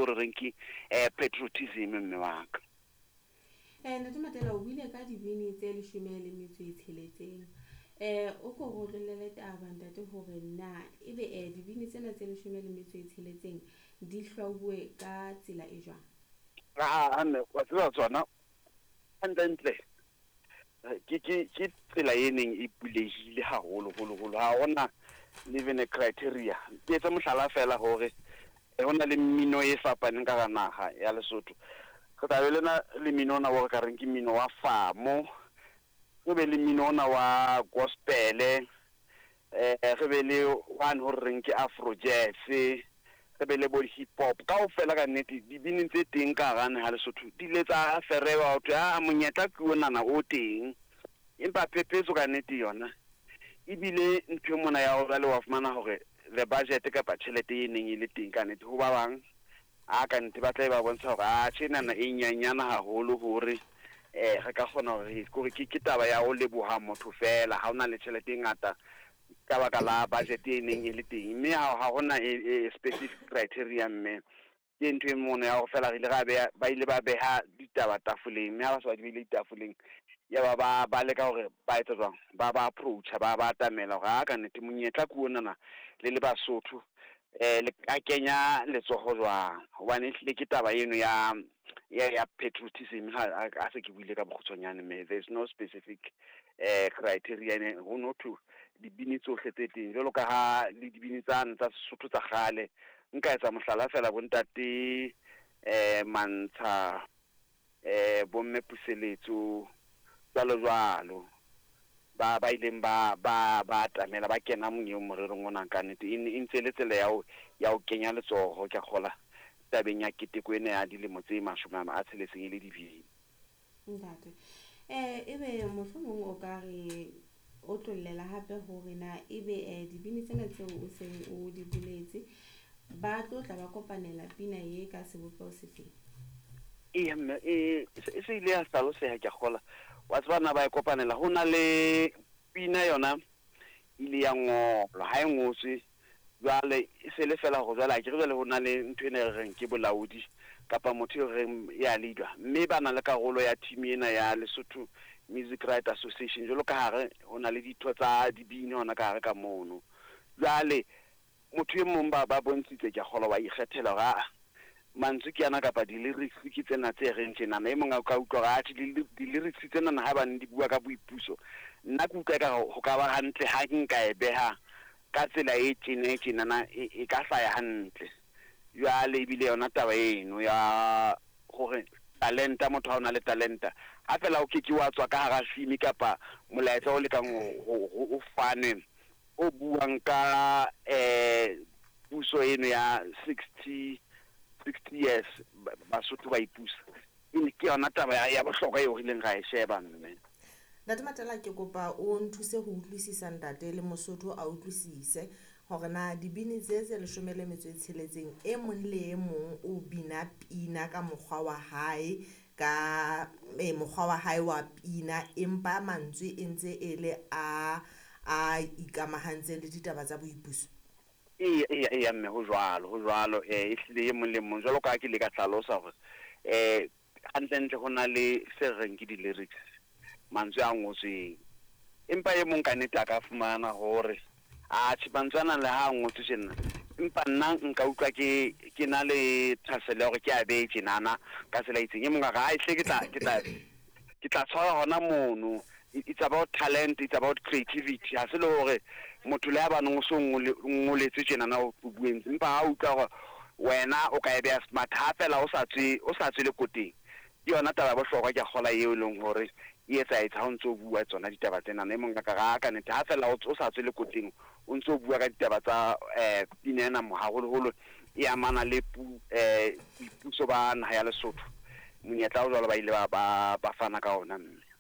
eo re reng ke patriotism, mme wa ka. Ntate Matela, o buile ka dibini tse 16. O ko re otlollele taba, ntate, hore na ebe dibini tsena tse 16 di hlwauwe ka tsela e jwang? Aa, mme wa tseba, tsona hantle-ntle ke tsela e neng e bulehile haholo holo holo. Ha hona even a criteria. Ke etse mohlala fela hore ho na le mmino e fapaneng ka hara naha ya Lesotho. Re tla be le na le mmino ona o re ka reng ke mmino wa famo, re be le mmino ona wa gospel, re be le one ho re reng ke afro jazz, re be le bo hip hop kaofela. Ka nnete, dibini tse teng ka hara naha Lesotho di ile tsa ferewa ho thwe a monyetla ke onana o teng. Empa phephetso ka nnete yona ebile ntho e mona ya hore jwale wa fumana hore the budget kapa tjhelete e neng e le teng, ka nnete ho ba bang a ka nnete ba tla ba bontsha hore a tjhe, enana e nyanyana haholo hore re ka kgona hore kore ke taba ya ho leboha motho fela ha hona le tjhelete e ngata ka baka la budget e neng e le teng. Mme ha hona e specific criteria, mme ke ntho e mono ya hore fela re ile ra beha, ba ile ba beha ditaba tafoleng, mme ha ba se ba di behile ditafoleng, ya ba ba leka hore ba etsa jwang, ba approacha, ba atamela hore a ka nnete monyetla ke onana, le le Basotho, le ka kenya letsoho jwang, hobane ehlile ke taba eno ya patriotism. Ha a se ke buile ka bokgutshwanyane, mme there is no specific criteria. Ho no thwe dibini tsohle tse teng, jwalo ka ha le dibini tsane tsa Sesotho tsa kgale, nka etsa mohlala fela, bontate Mantsha, bomme Puseletso, jwalo jwalo, ba ileng ba atamela, ba kena monyeng morerong ona. Ka nnete e ntse le tsela ya ho kenya letsoho, ke a kgola, tabeng ya keteko ena ya dilemo tse 60 e le dibini. Ntate, ebe mohlomong o ka re otlollela hape hore na ebe dibini tsena tseo o seng o di boletse ba tlo tla ba kopanela pina ye ka sebopeho sefeng? Eya mme, e se ile ya hlaloseha, ke a kgola. Wa tseba na ba e kopanela, ho na le pina yona ile ya ngolwa, ha e ngotswe jwale e se le fela hore jwale akere jwale ho na le ntho ena e re reng ke bolaodi kapa motho e reng ya leader, mme ba na le karolo ya team ena ya Lesotho Music Right Association, jwalo ka hare ho na le ditho tsa dibini hona ka hare ka mono. Jwale motho e mong ba bontshitse, ke a kgolwa, wa ikgethela hore aa, mantswe ke ana kapa di-lyrics ke tsena tse reng tjenana. E mong a ka utlwa hore atjhe, di-lyrics tsenana haebane di bua ka boipuso, nna ke utlwa ekare ho ka ba hantle ha nka e beha ka tsela e tjena e tjenana, e ka hlaya hantle. Jwale ebile yona taba eno ya hore talenta, motho ha o na le talenta, ha fela o keke wa tswa ka hara theme kapa molaetsa o lekang o fane o buang ka puso eno ya 60 years Basotho ba ipusa, ke yona taba ya bohlokwa eo re ileng ra e sheba, mme. Ntate Matela, ke kopa o nthuse ho utlwisisa, ntate, le Mosotho a utlwisise hore na dibini tse 16, e mong le e mong o bina pina ka mokgwa wa hae, ka mokgwa wa hae wa pina, empa mantswe e ntse e le a ikamahantseng le ditaba tsa boipuso? Eya mme, ho jwalo, ho jwalo. Ehlile e mong le mong, jwalo ka ha ke ile ka hlalosa hore hantle-ntle ho na le se re reng ke di-lyrics, mantswe a ngotsweng, empa e mong ka nnete a ka fumana hore atjhe, mantswe ana le ha a ngotswe tjena, empa nna nka utlwa ke na le thahasello ya hore ke a behe tjenana ka tsela e itseng. E mong a re ai hle, ke tla tshwara hona mono. It's about talent, it's about creativity. Ha se le hore motho le ha baneng o so ngoletswe tjenana o bueng, empa ha utlwa hore wena o ka e beha smart, ha fela o sa tswe lekoteng, ke yona taba ya bohlokwa, ke a kgola, eo e leng hore e etsahetse ha o ntso bua tsona ditaba tsenana. E mong a ka re ka nnete, ha fela o sa tswe lekoteng, o ntso bua ka ditaba tsa pina ena, haholoholo e amana le boipuso ba naha ya Lesotho, monyetla o jwalo ba ile ba fana ka ona, mme.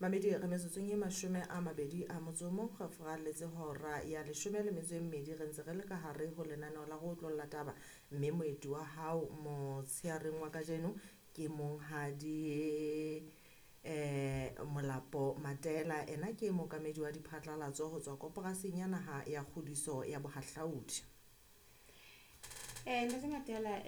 Mamedi, re metsotsong e 21, re furalletse hora ya 12, re ntse re le ka hare ho lenaneo la go otlolla taba, mme moeti wa hao motsheareng wa kajeno ke monghadi Molapo Matela. Ena ke mookamedi wa diphatlalatso ho tswa Koporaseng ya Naha ya Kgodiso ya Bohahlaudi. Ntate Matela.